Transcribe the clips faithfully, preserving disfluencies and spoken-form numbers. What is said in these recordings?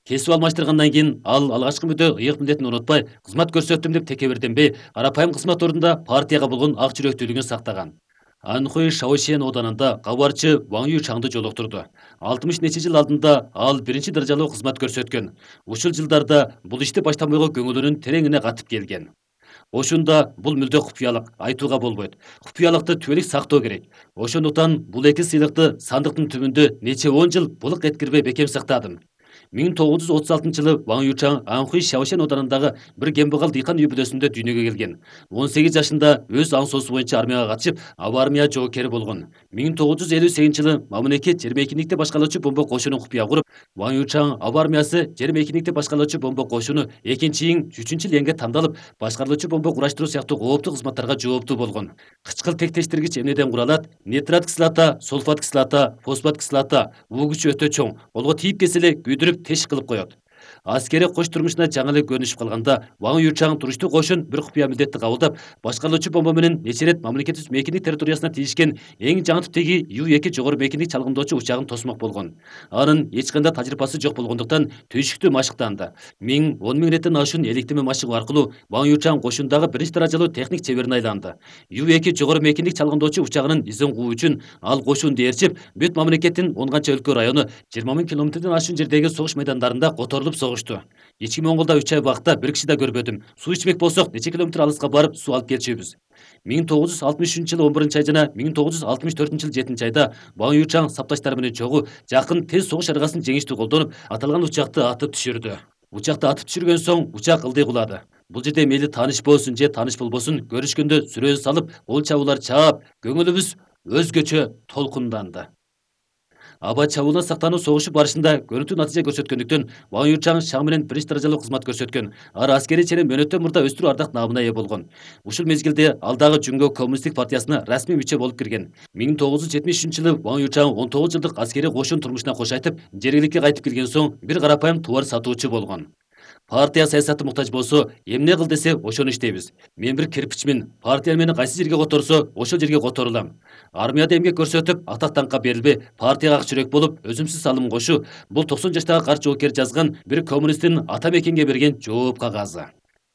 Кесип алмаштыргандан кийин ал алгачкы мүдө ыйык милдетин унутпай, кызмат көрсөттүм деп текебирденбей, арапайым кызмат ордунда партияга болгон ак жүрөктүүлүгүн сактаган. Анхуй Шаошен оданында кабарчы Ван Ючаңды жолуктурду. алтымыш нече жыл алдында ал биринчи даражалуу кызмат көрсөткөн. Ушул жылдарда бул ишти баштамайга көңүлүнүн тереңине катып келген. Ошондо бул мүлдө купуялык, айтууга болбойт. Купуялыкты түбөлүк сактоо керек. Ошондуктан бул эки сыйлыкты сандыктын түбүндө нече он жыл булык эткирбей бекем сактадым. миң тогуз жүз отуз алтынчы жылы Ван Ючаң Анхуй Шаошен оданындагы бир кембагал дыйкан үй бүлөсүндө дүйнөгө келген. он сегиз жашында өз аң соосу боюнча армияга катышып, аба армия жоокери болгон. миң тогуз жүз элүү сегизинчи жылы мамлекет жыйырма экиндикти башкаруучу бомба кошунун купуя куруп, Ван Ючаң аба армиясы жыйырма экиндикти башкаруучу бомба кошуну экинчи иң үчүнчү ленге тандалып, башкаруучу бомба кураштыруу сыяктуу кооптуу кызматтарга жооптуу болгон. Кычкыл тектештиргич эмнеден куралат? Нитрат кислота, сульфат кислота, фосфат кислота. Бул күчү өтө чоң. Колго тийип келсе эле күйдүрүп теш кылып коет. Аскери кош турмушуна жаңы эле көрүнүшүп калганда, Ван Ючаң туруштуу кошун бир купуя милдетти кабылдап, башкаруучу бомба менен нече ирет мамлекетибиз мейкиндик территориясына тиешкен эң жаңы типтеги Ю эки жогору мейкиндик чалгындоочу учагын тосмок болгон. Анын эч кандай тажрыйбасы жок болгондуктан түйшүктүү машыктанды. миң он миң иреттен ашуун электеме машыгуу аркылуу Ван Ючаң кошундагы биринчи даражалуу техник чеберине айланды. Ю эки жогору мейкиндик чалгындоочу учагынын изин куу үчүн ал кошунду ээрчип, бүт мамлекеттин он канча өлкө району жыйырма миң километрден ашуун жердеги согуш майдандарында которулуп согушту. Ички Монголдо үч ай убакта бир киши да көрбөдүм. Суу ичмек болсок, нече километр алыска барып суу алып келчүбүз. миң тогуз жүз алтымыш үчүнчү жылы он биринчи ай жана миң тогуз жүз алтымыш төртүнчү жылы жетинчи айда Ван Ючаң сапташтары менен чогуу жакын тез согуш аргасын жеңиштүү колдонуп, аталган учакты атып түшүрдү. Учакты атып түшүргөн соң учак ылдый кулады. Бул жерде мейли тааныш болсун же тааныш болбосун, көрүшкөндө сүрөзү салып, кол чабуулар чаап, көңүлүбүз өзгөчө толкунданды. Аба чабуулдан сактануу согушу барышында көрүнтүү натыйжа көрсөткөндүктөн Ван Ючаң шаң менен биринчи даражалуу кызмат көрсөткөн. Ар аскерий ченин мөөнөттөн мурда өстүрүү ардак наамына ээ болгон. Ушул мезгилде ал дагы Жүнгө коммунисттик партиясына расмий мүчө болуп кирген. миң тогуз жүз жетимиш үчүнчү жылы Ван Ючаң он тогуз жылдык аскерий кошун турмушуна кош айтып, жергиликке кайтып келген соң бир карапайым товар сатуучу болгон. Партия саясаты муктаж болсо, эмне кыл десе ошону иштейбиз. Мен бир кирпичмин. Партия мени кайсы жерге которсо, ошол жерге которулам. Армияда эмгек көрсөтүп, атак даңкка берилбей, партияга ак жүрөк болуп, өзүмсүз салым кошу. Бул токсон жаштагы карт жоокер жазган бир коммунисттин ата мекенге берген жооп кагазы.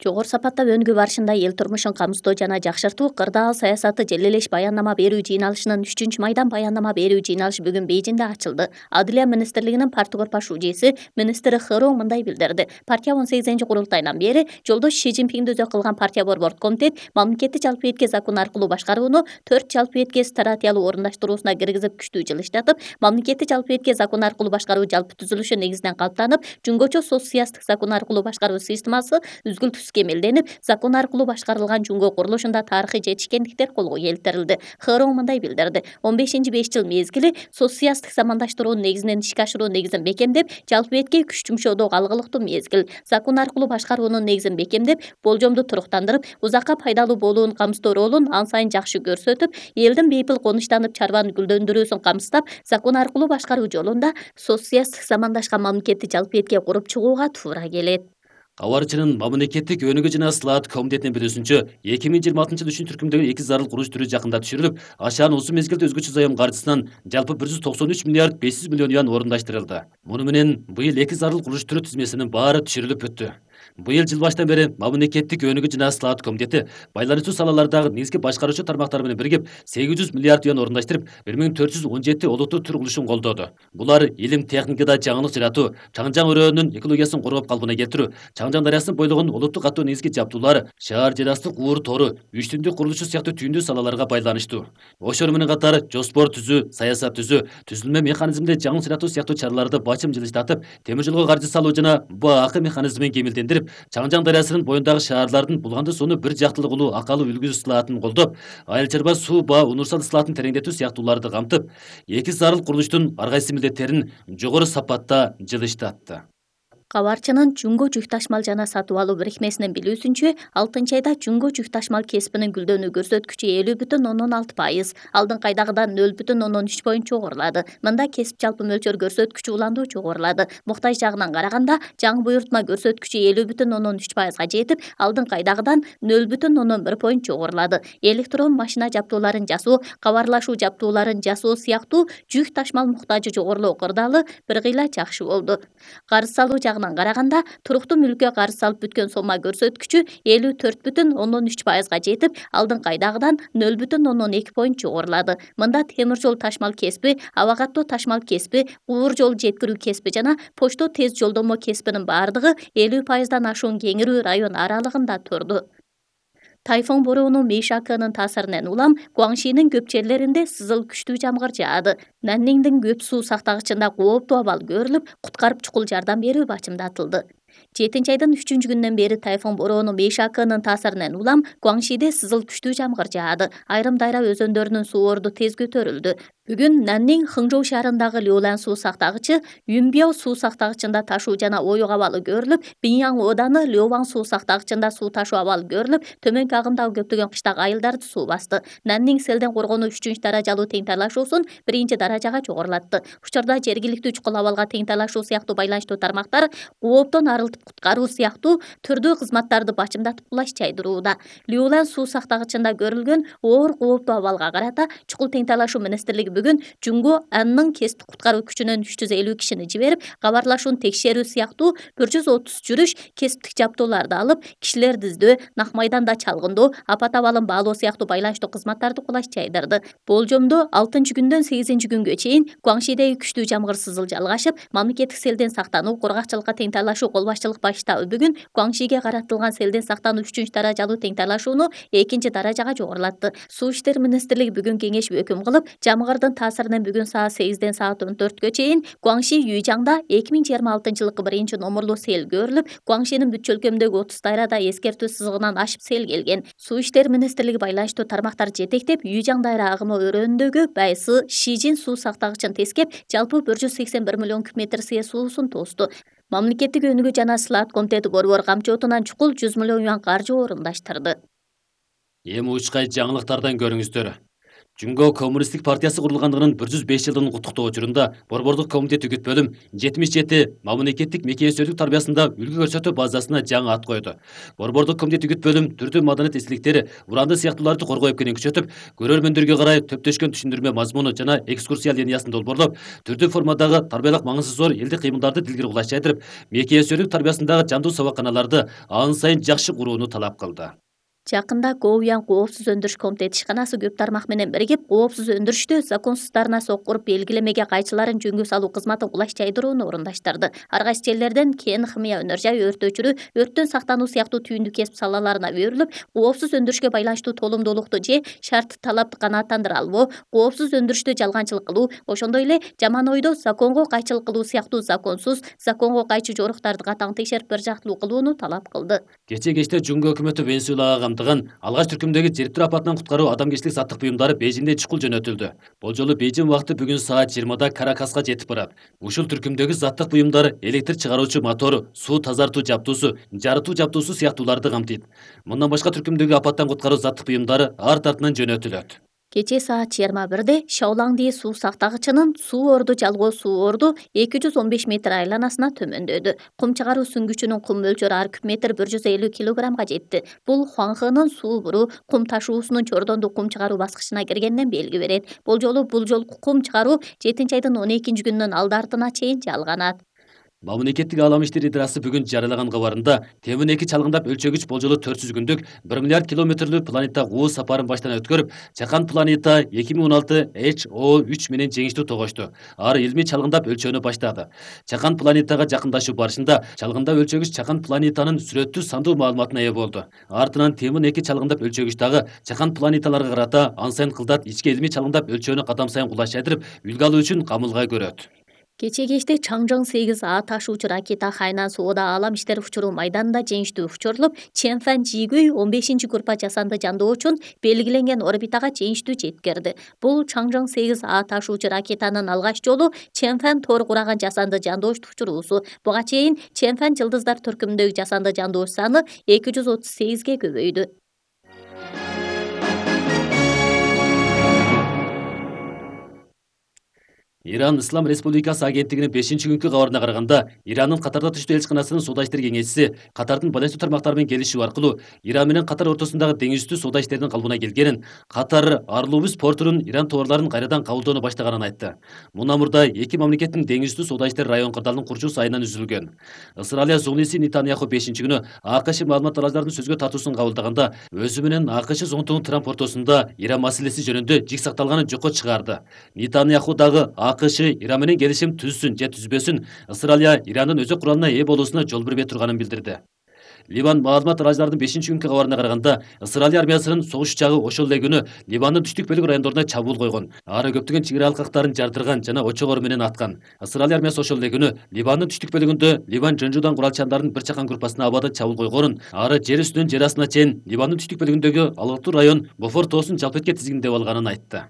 Жогору сапаттап өнүгүп барышында эл турмушун камсыздоо жана жакшыртуу кырдаал саясаты желелеш баяндама берүү жыйналышынын үчүнчү майдан баяндама берүү жыйналышы бүгүн Бейжиңде ачылды. Адылия министрлигинин парткорпа шужеси министри Хыроо мындай билдирди. Партия он сегизинчи курултайынан бери жолдош Ши Цзиньпинди өзөк кылган партия борбордук комитет мамлекеттик жалпы этке закон аркылуу башкарууну төрт жалпы этке стратегиялуу орундаштыруусуна киргизип күчтүү жылыштатып, мамлекеттик жалпы этке закон аркылуу башкаруу жалпы түзүлүшү негизинен калыптанып, жүнгөчө соцсыясаттык закон аркылуу башкаруу системасы үзгүлтүс кемелденип, закон аркылуу башкарылган жүнгө курулушунда тарыхый жетишкендиктер колго келтирилди. Хыроо мындай билдирди. он бешинчи беш жыл мезгили соцсыясаттык замандаштыруунун негизинен ишке ашыруу негизин бекемдеп, жалпы этке күч жумшоодо алгылыктуу мезгил. Закон аркылуу башкаруунун негизин бекемдеп, болжомду туруктандырып, узакка пайдалуу болуун камсыздоо ролун ан сайын жакшы көрсөтүп, элдин бейпил конуштанып чарбаны гүлдөндүрүүсүн камсыздап, закон аркылуу башкаруу жолунда соцсыясаттык замандашкан мамлекеттик жалпы этке куруп чыгууга туура келет. Кабарчынын мамлекеттик өнүгүү жана ысылаат комитетинин билүүсүнчө, эки миң жыйырма алтынчы жылы үчүнчү түркүмдөгү эки зарыл курулуш түрү жакында түшүрүлүп, ашаан узун мезгилде өзгөчө заем каржысынан жалпы бир жүз токсон үч миллиард беш жүз миллион юан орундаштырылды. Муну менен быйыл эки зарыл курулуш түрү тизмесинин баары түшүрүлүп бүттү. Быйыл жыл башынан бери мамлекеттик өнүгүү жана ысылаат комитети байланышуу салалардагы негизги башкаруучу тармактар менен биригип сегиз жүз миллиард юан орундаштырып, бир миң төрт жүз он жети олуттуу түр курулушун колдоду. Булар илим техникада жаңылык жаратуу, Чаңжаң өрөөнүн экологиясын коргоп калпына келтирүү, Чаңжаң дарыясынын бойлогун олуттуу катуу негизги жабдуулар, шаар жер асты куур тору, үч түндүк курулушу сыяктуу түйүндүү салаларга байланыштуу. Ошол менен катар жоспор түзүү, саясат түзүү, түзүлмө механизминде жаңылык жаратуу сыяктуу чараларды бачым жылыштатып, темир жолго каржы салуу жана Б А К механизмин кемилдендирип, Чаңжаң дарыясынын боюндагы шаарлардын булганды сууну бир жактылык улуу акалуу үлгү ысылаатын колдоп, айыл чарба суу ба универсал ысылаатын тереңдетүү сыяктууларды камтып, эки зарыл курулуштун ар кайсы милдеттерин жогору сапатта жылыштатты. Кабарчынын Жүнгө жүк ташмал жана сатып алуу бирикмесинин билүүсүнчө, алтынчы айда Жүнгө жүк ташмал кесибинин гүлдөнүү көрсөткүчү элүү бүтүн ондон алты пайыз, алдыңкы айдагыдан нөл бүтүн ондон үч поинт жогорулады. Мында кесип жалпы мөлчөр көрсөткүчү уландуу жогорулады. Муктаж жагынан караганда, жаңы буйрутма көрсөткүчү элүү бүтүн ондон үч пайызга жетип, алдыңкы айдагыдан нөл бүтүн ондон бир поинт жогорулады. Электрон машина жабдууларын жасоо, кабарлашуу жабдууларын жасоо сыяктуу жүк ташмал муктажы жогорулоо кырдаалы бир кыйла жакшы болду. Карыз салуу жагынан жагынан караганда туруктуу мүлккө карыз салып бүткөн сомма көрсөткүчү элүү төрт бүтүн ондон үч пайызга жетип, алдыңкы айдагыдан нөл бүтүн ондон эки поинт жогорулады. Мында темир жол ташмал кесиби, аба каттоо ташмал кесиби, уур жол жеткирүү кесиби жана почто тез жолдомо кесибинин бардыгы элүү пайыздан ашуун кеңирүү район аралыгында турду. Тайфун бороону Мейшакынын таасиринен улам Гуаңшинин көп жерлеринде сызыл күчтүү жамгыр жаады. Нанниңдин көп суу сактагычында кооптуу абал көрүлүп, куткарып чукул жардам берүү бачымдатылды. жетинчи айдын үчүнчү күнүнөн бери тайфун бороону Мейшакынын таасиринен улам Гуаңшиде сызыл күчтүү жамгыр жаады. Айрым дайра өзөндөрүнүн суу орду тез көтөрүлдү. Бүгүн Наннин Хыңжоу шаарындагы Лёлан суу сактагычы, Юнбяо суу сактагычында ташуу жана оюк абалы көрүлүп, Биньяң ооданы Лёваң суу сактагычында суу ташуу абалы көрүлүп, төмөнкү агымдагы көптөгөн кыштак айылдарды суу басты. Наннин селден коргонуу үчүнчү даражалуу тең талашуусун биринчи даражага жогорулатты. Учурда жергиликтүү чукул абалга тең талашуу сыяктуу байланыштуу тармактар кооптон арылтып куткаруу сыяктуу түрдүү кызматтарды бачымдатып кулаш жайдырууда. Лёлан суу сактагычында көрүлгөн оор кооптуу абалга карата чукул тең талашуу министрлиги бүгүн Жунго Анның кесиптик куткаруу күчүнөн үч жүз элүү кишини жиберип, кабарлашууну текшерүү сыяктуу бир жүз отуз жүрүш кесиптик жабдууларды алып, кишилерди издөө, нак майданда чалгындоо, апат абалын баалоо сыяктуу байланыштуу кызматтарды кулаш жайдырды. Болжомдо алтынчы күндөн сегизинчи күнгө чейин Гуаңшидеги күчтүү жамгыр сызыл жалгашып, мамлекеттик селден сактануу, кургакчылыкка тең талашуу кол башчылык баш штабы бүгүн Гуаңшиге каратылган селден сактануу үчүнчү даражалуу тең талашууну экинчи даражага жогорулатты. Суу иштер министрлиги бүгүн кеңешип өкүм кылып, жамгырдын таасиринен бүгүн саат сегизден саат он төрткө чейин Гуаңши Юйжаңда эки миң жыйырма алтынчы жылкы биринчи номурлуу сел көрүлүп, Гуаңшинин бүт чөлкөмдөгү отуз дайрада эскертүү сызыгынан ашып сел келген. Суу иштер министрлиги байланыштуу тармактар жетектеп, Юйжаң дайра агымы өрөөнүндөгү Байсы, Шижин суу сактагычын тескеп, жалпы бир жүз сексен бир миллион куб метр сыя суусун тосту. Мамлекеттик өнүгүү жана сылаат комитети борбор камчоотунан чукул жүз миллион юан каржы орундаштырды. Эми учкай жаңылыктардан көрүңүздөр. Жунго коммунисттик партиясы курулгандыгынын бир жүз беш жылдын куттуктоо учурунда борбордук комитет үгүт бөлүм жетимиш жети мамлекеттик мекенчилик тарбиясында үлгү көрсөтүү базасына жаңы ат койду. Борбордук комитет үгүт бөлүм түрдүү маданият эстеликтери, уранды сыяктууларды коргоо эпкенин күчөтүп, көрөрмөндөргө карай төптөшкөн түшүндүрмө мазмуну жана экскурсия линиясын долбоорлоп, түрдүү формадагы тарбиялык маңызы зор элдик кыймылдарды дилгире кулаш жайдырып, мекенчилик тарбиясындагы жандуу сабаканаларды ан сайын жакшы курууну талап кылды. Жакында Гоуян коопсуз өндүрүш комитети ишканасы көп тармак менен биригип, коопсуз өндүрүштө законсуздарына соккуруп белгилемеге кайчыларын жөнгө салуу кызматын кулаш жайдырууну орундаштырды. Ар кайсы жерлерден кен, химия өнөр жай, өрт өчүрүү, өрттөн сактануу сыяктуу түйүндү кесип салаларына берилип, коопсуз өндүрүшкө байланыштуу толумдуулукту же шартты талапты канааттандыра албоо, коопсуз өндүрүштө жалганчылык кылуу, ошондой эле жаман ойдо законго кайчылык кылуу сыяктуу законсуз, законго кайчы жоруктарды катаң текшерип бир жактылуу кылууну талап кылды. Кечээ кечте Жунго өкмөтү Венесуэлага алгач түркүмдөгү жериптүү апатынан куткаруу адамгерчилик заттык буюмдары Бейжиңден чукул жөнөтүлдү. Болжолу Бейжиң убакыты бүгүн саат жыйырмада Каракаска жетип барат. Ушул түркүмдөгү заттык буюмдар электр чыгаруучу мотору, суу тазартуу жабдуусу, жарытуу жабдуусу сыяктууларды камтыйт. Мындан башка түркүмдөгү апаттан куткаруу заттык буюмдары арт артынан жөнөтүлөт. Кечээ саат жыйырма бирде Шаолаңди суу сактагычынын суу орду жалгоо суу орду эки жүз он беш метр айланасына төмөндөдү. Кум чыгаруу сүңгүчүнүн кум мөлчөрү ар куб метр бир жүз элүү килограммга жетти. Бул Хуаңхынын суу буруу кум ташуусунун чордондуу кум чыгаруу баскычына киргенден белги берет. Болжолу бул жолку кум чыгаруу жетинчи айдын он экинчи күнүнүн алды артына чейин жалганат. Мамлекеттик Аалам иштери идырасы бүгүн жарыялаган кабарында Темин эки чалгындап өлчөгүч болжолу төрт жүз күндүк бир миллиард километрлүү планета уу сапарын баштан өткөрүп, Чакан планета эки миң он алты H O үч менен жеңиштүү тогошту. Ар илмий чалгындап өлчөөнү баштады. Чакан планетага жакындашуу барышында чалгындап өлчөгүч Чакан планетанын сүрөттүү сандуу маалыматына ээ болду. Артынан Темин эки чалгындап өлчөгүч дагы Чакан планеталарга карата ан сайын кылдат ички илмий чалгындап өлчөөнү кадам сайын кулаш жайдырып, үлгү алуу үчүн камылга көрөт. Кечээ кечте Чаңжаң сегиз А ташуучу ракета Хайнан соода Аалам иштери учуруу майданында жеңиштүү учурулуп, Ченфан Жигүй он бешинчи группа жасанды жандоочун белгиленген орбитага жеңиштүү жеткирди. Бул Чаңжаң сегиз А ташуучу ракетанын алгач жолу Ченфан тор кураган жасанды жандооч учуруусу. Буга чейин Ченфан жылдыздар түркүмүндөгү жасанды жандооч саны эки жүз отуз сегизге көбөйдү. Иран Ислам Республикасы агенттигинин бешинчи күнкү кабарына караганда, Ирандын Катарда түштүү элчиканасынын соода иштери кеңешчиси Катардын байланыштуу тармактары менен келишүү аркылуу Иран менен Катар ортосундагы деңиздүү соода иштеринин калыбына келгенин, Катар Арлубус портунун Иран товарларын кайрадан кабылдоону баштаганын айтты. Мындан мурда эки мамлекеттин деңиздүү соода иштери район кырдаалынын курчу сайынан үзүлгөн. Ысыралия зуңлиси Нетаньяху бешинчи күнү АКШ маалымат аралардын сөзгө тартуусун кабылдаганда, өзү менен АКШ зонтугун Трамп ортосунда Иран маселеси жөнүндө жик сакталганын жокко чыгарды. Нетаньяху дагы АКШ Иран менен келишим түзсүн же түзбөсүн, Ысыралия Ирандын өзөк куралына ээ болуусуна жол бербей турганын билдирди. Ливан маалымат араларынын бешинчи күнкү кабарына караганда, Ысыралия армиясынын согуш учагы ошол эле күнү Ливандын түштүк бөлүк райондоруна чабуул койгон. Ары көптөгөн чек ара алкактарын жардырган жана очогор менен аткан. Ысыралия армиясы ошол эле күнү Ливандын түштүк бөлүгүндө Ливан жонжудан куралчандардын бир чакан группасына абада чабуул койгонун, ары жер үстүнөн жер астына чейин Ливандын түштүк бөлүгүндөгү алыктуу район Бофор тоосун жалпетке тизгиндеп алганын айтты.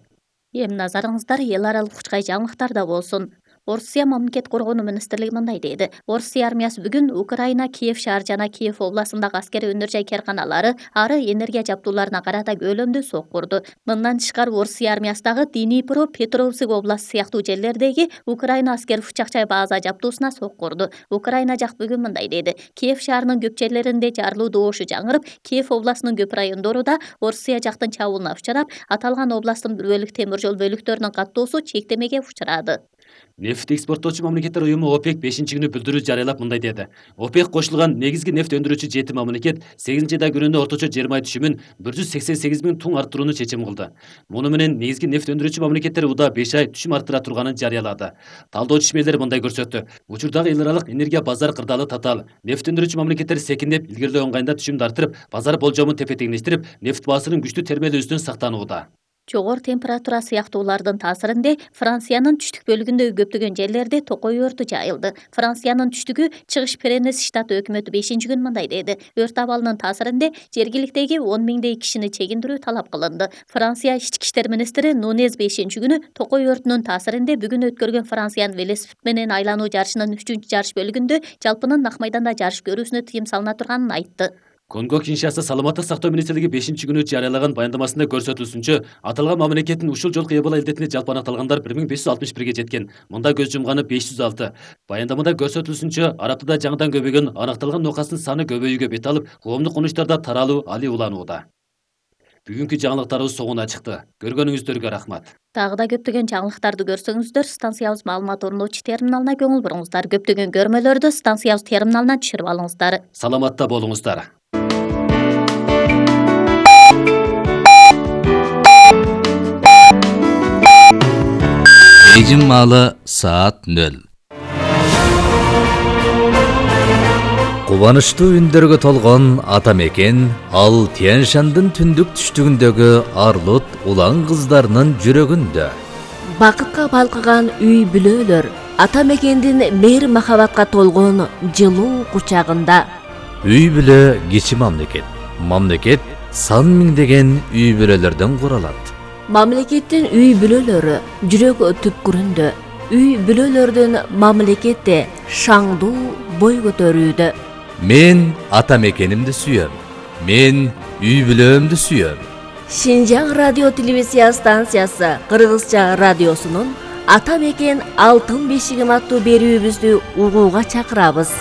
Эми назарыңыздар эл аралык учкай жаңылыктарда болсун. Орусия мамлекет коргонуу министрлиги мындай деди. Орусия армиясы бүгүн Украина Киев шаар жана Киев областындагы аскерий өнөр жай карканалары ары энергия жабдууларына карата көлөмдүү сок курду. Мындан тышкары Орусия армиясы дагы Днипро, Петровск областы сыяктуу жерлердеги Украина аскер учакчай база жабдуусуна сок курду. Украина жак бүгүн мындай деди. Киев шаарынын көп жерлеринде жарылуу добушу жаңырып, Киев областынын көп райондору да Орусия жактын чабуулуна учурап, аталган областтын бир бөлүк темир жол бөлүктөрүнүн каттоосу чектемеге учурады. Нефт экспорттоочу мамлекеттер уюму ОПЕК бешинчи күнү билдирүү жарыялап мындай деди. ОПЕК кошулган негизги нефт өндүрүүчү жети мамлекет сегизинчи айда күнүнө орточо жыйырма ай түшүмүн бир жүз сексен сегиз миң тонн арттырууну чечим кылды. Муну менен негизги нефт өндүрүүчү мамлекеттер уда беш ай түшүм арттыра турганын жарыялады. Талдоо чишмелери мындай көрсөттү. Учурдагы эл аралык энергия базар кырдаалы татаал. Нефт өндүрүүчү мамлекеттер секиндеп илгерилөө ыңгайында түшүмдү арттырып, базар болжомун тепе-теңдештирип, нефт баасынын күчтүү термелүүсүнөн сактанууда. Жогору температура сыяктуулардын таасиринде Франциянын түштүк бөлүгүндөгү көптөгөн жерлерде токой өртү жайылды. Франциянын түштүгү Чыгыш Пренес штаты өкмөтү бешинчи күн мындай деди. Өрт абалынын таасиринде жергиликтеги он миңдей кишини чегиндирүү талап кылынды. Франция ички иштер министри Нунез бешинчи күнү токой өртүнүн таасиринде бүгүн өткөргөн Франциянын велосипед менен айлануу жарышынын үчүнчү жарыш бөлүгүндө жалпынын ак майданда жарыш көрүүсүнө тыйым салына турганын айтты. Конго Киншаса саламаттык сактоо министрлиги бешинчи күнү жарыялаган баяндамасында көрсөтүлүшүнчө, аталган мамлекеттин ушул жолку Эбола илдетине жалпы аныкталгандар бир миң беш жүз алтымыш бирге жеткен. Мында көз жумганы беш жүз алты. Баяндамада көрсөтүлүшүнчө, Арабтыда жаңыдан көбөйгөн аныкталган нокастын саны көбөйүүгө бет алып, коомдук конуштарда таралуу али уланууда. Бүгүнкү жаңылыктарыбыз соңуна чыкты. Көргөнүңүздөргө рахмат. Дагы да көптөгөн жаңылыктарды көрсөңүздөр, станциябыз маалымат ордоочу терминалына көңүл буруңуздар. Көптөгөн көрмөлөрдү станциябыз терминалынан түшүрүп алыңыздар. Саламатта болуңуздар. Эжим маалы саат нөл. Кубанычтуу үндөргө толгон ата мекен ал Тянь-Шандын түндүк түштүгүндөгү Арлут улан кыздарынын жүрөгүндө. Бакытка балкыган үй бүлөлөр ата мекендин мейир махабатка толгон жылуу кучагында. Үй бүлө кичи мамлекет. Мамлекет сан миңдеген үй бүлөлөрдөн куралат. Мамлекеттин үй бүлөлөрү жүрөк түпкүрүндө. Үй бүлөлөрдүн мамлекетте шаңдуу бой көтөрүүдө. Мен ата мекенимди сүйөм. Мен үй бүлөмдү сүйөм. Шинжаң радио телевизия станциясы Кыргызча радиосунун Ата мекен алтын бешигим аттуу берүүбүздү угууга чакырабыз.